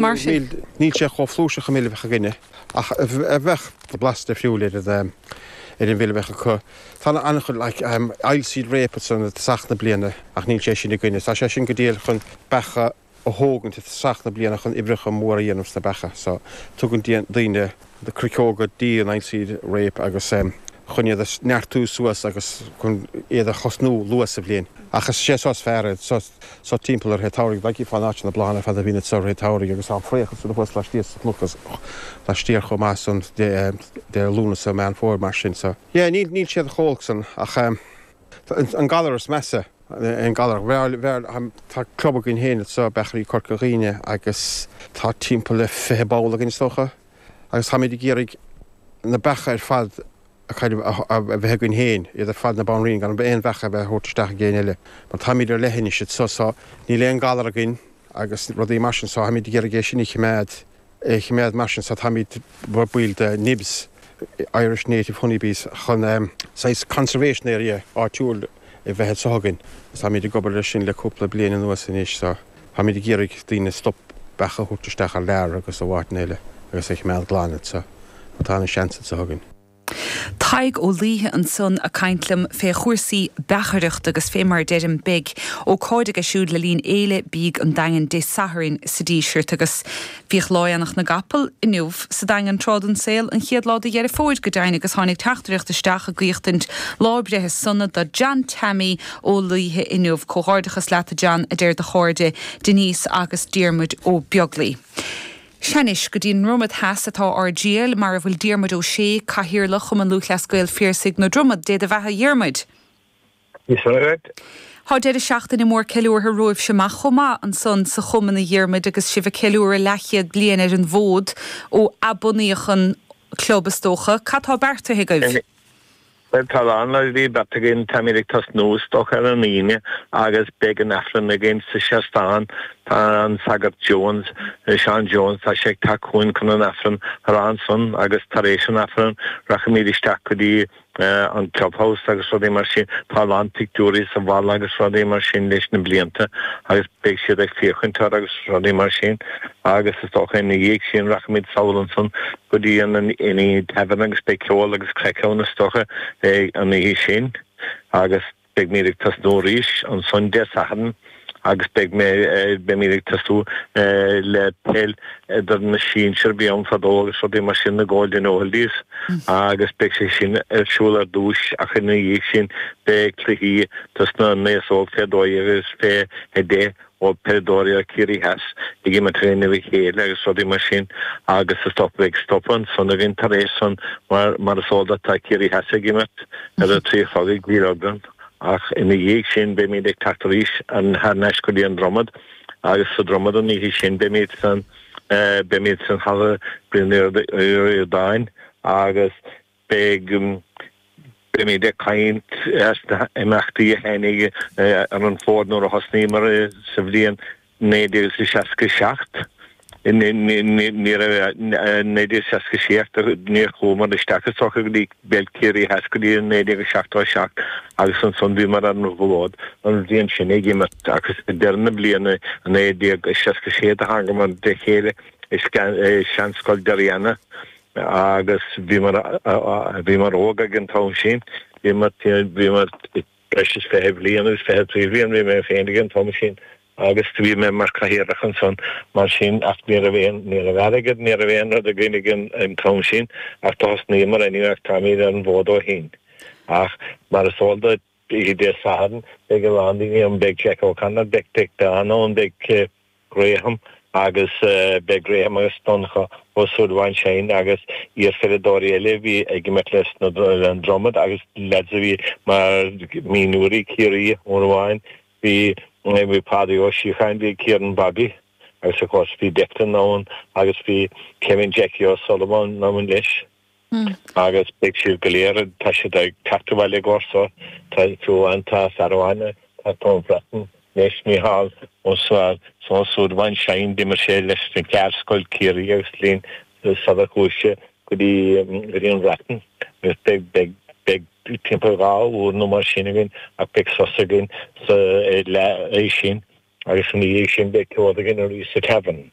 Mar sin. Níl sé chomh flúirseach an mil a bheadh againne, ach bheadh blas difriúil ar an ar an mhil a bheadh acu. Tá an-chuid like oilseed rape ansan i dtosach na bliana ach níl sé sin againne. Tá sé sin go diail chun beacha a thógaint i dtosach na bliana chun uimhreacha móra a dhéanamh sna beacha. So tugann daoine na cruiceoga dí an oilseed rape agus chun iad a neartú suas agus chun iad a chosnú luath sa bhliain. Ach is sé seo is fearr é, seo seo timpeall ar rith an tsamhraidh, bheadh fán áit na bláthanna ar fad a bhíonn anseo rith an tsamhraidh agus tá an fraoch ansan thuas laistíos sa chnoc laistiar chomh maith san de Lúnasa, Meán Fómhair mar sin. So yeah níl níl siad chomh holc san ach an galar is measa an galar bhearr bhearr tá club againn féin anseo, Beachairí Corca Dhuibhne agus tá timpeall le 20 ball againn is dócha. agus táimid ag iarraidh na beacha ar fad a kind of a bheith againn féin, iad ar fad na banríon, gan aon bheach a bheith a thabhairt isteach ag éinne eile, mar táimid ar leithinis anseo so níl aon galar againn agus rudaí mar sin so táimid ag iarraidh é sin a choimeád, é a choimeád mar sin so táimid mar baill de NIBS, Irish Native Honey Bees, chun saghas conservation area áitiúil a bheith anseo againn agus táimid ag obair leis sin le cúpla bliain anuas anois so. Táimid ag iarraidh daoine stop beacha a thabhairt isteach thar lear agus ó áiteanna eile agus é a choimeád glan anseo mar tá ana-sheans anseo againn. Tadhg Ó Laoithe ansan a' caint liom fé chúrsaí beachaireachta agus fé mar a deirim beidh ócáid aige siúd le linn Fhéile Bídh an Daingin Dé Sathairn sa Díseart agus Bhíodh Lá Aonach na gCapall inniu sa Daingean tráth den saol, an chéad lá de Dheireadh Fómhair go deimhin, agus tháinig teachtaireacht isteach ag guíochtaint lá breithe sona do John Teaimí Ó Laoithe inniu. Comhghairdeachas leat a John, a deir do chairde Denise agus Diarmuid Ó Beaglaoi. Sea anois, go dtí an nDromad Theas atá ár dtriall, mar a bhfuil Diarmuid Ó Sé, Cathaoirleach Chumann Lúthchleas Gael Phiarsaigh na Dromad. Dé do bheatha a Dhiarmuid! Tá deireadh seachtaine mór ceiliúrtha romhaibhse amach chomh maith ansan sa Chumann a Dhiarmuid agus sibh ag ceiliúradh leathchéad bliain ar an bhfód ó athbunaíodh an club is dócha. Cad tá beartaithe agaibh? Bhuel tá a lán rudaí beartaithe againn, táimid ag tosnú is dócha ar an Aoine agus beidh an Aifreann againn sa seastán. Tá an Sagart Jones, Seán Jones, tá sé ag teacht chugainn chun an Aifreann a rá ansan agus tar éis an Aifreann rachaimid isteach go dtí an clubhouse agus rudaí mar sin. Tá a lán pictiúirí sa bhalla agus rudaí mar sin leis na blianta agus beidh siad ag féachaint air agus rudaí mar sin agus is dócha ina dhiaidh sin rachaimid sall ansan go dtí an Inny Tavern agus beidh ceol agus craic ann is dócha an oíche sin agus Beimid ag tosnú arís ansan Dé Sathairn agus beidh mé, beimid ag tosú le peil idir na sinsir a bhí ann fadó agus rudaí mar sin, na Golden Oldies agus beidh sé sin ar siúl ar dtúis ach ina dhiaidh sin beidh cluichí dos na n-aos óg fé 12 agus fé 10 ó peileadóirí ó Ciarraí Theas ag imirt i gcoinne a chéile agus rudaí mar sin agus is dócha beidh stop ansan againn tar éis san mar mar is eol duit tá Ciarraí Theas ag imirt ar a 3 a chlog ag Dílleagrán ach ina dhiaidh sin beimid ag teacht arís thar n-ais go dtí an Dromad agus sa Dromad an oíche sin beimid san beimid san halla Brian Uí Ríordáin agus Beidh, beimid ag caint as na himeachtaí a tháinig ar an bhfód nuair a thosnaíomar sa bhliain 1967. Ní raibh, 1967, níor chuamar isteach is dócha go dtí bpeil Ciarraí Theas go dtí 1977 agus ansan bhíomar ar an bhfód an bhliain sin ag imirt agus ag deireadh na bliana 1966 do thángamar le chéile i seanscoil Derriana agus bhíomar, bhíomar óg ag an t-am sin, bhíomar, bhíomar breis is 20 bliain agus 23 bhliain bhí mé féin ag an t-am sin agus bhí mé mar chathaoirleach ansan mar sin ach ní raibh aon, ní raibh airgead, ní raibh aon rud againn ag an t-am sin ach do thosnaíomar anyway ach táimid ar an bhfód ó shin. Ach mar is eol duit, oíche Dé Sathairn beidh a lán daoine ann, beidh Jack O'Connor, beidh Dick Dunne ann, beidh Graham agus beidh Graham agus Donncha Ó Súilleabháin Shine agus iarpheileadóirí eile a bhí ag imirt leis na le an Dromad agus leaids a bhí mar mionúirí Ciarraí uair amháin bhí bhí Pádraig Ó Síocháin bhí Kieran Bobby agus of course bhí Declan ann agus bhí Kevin Jackie O'Sullivan ann leis. Agus beidh siad go léir, tá siad ag teacht abhaile i gcomhair so, tá, fiú amháin tá fear amháin ag teacht ón Bhreatain anois, Mícheál Ó Súilleabháin Shine, d'imir sé leis na Ceardscoil Ciarraí agus linn sular chuaigh sé go dtí, go dtí an Bhreatain agus beidh, beidh, beidh timpeall 2 uair nó mar sin againn ach beidh sos againn sa leath sin agus ina dhiaidh sin beidh ceol againn arís sa Tavern.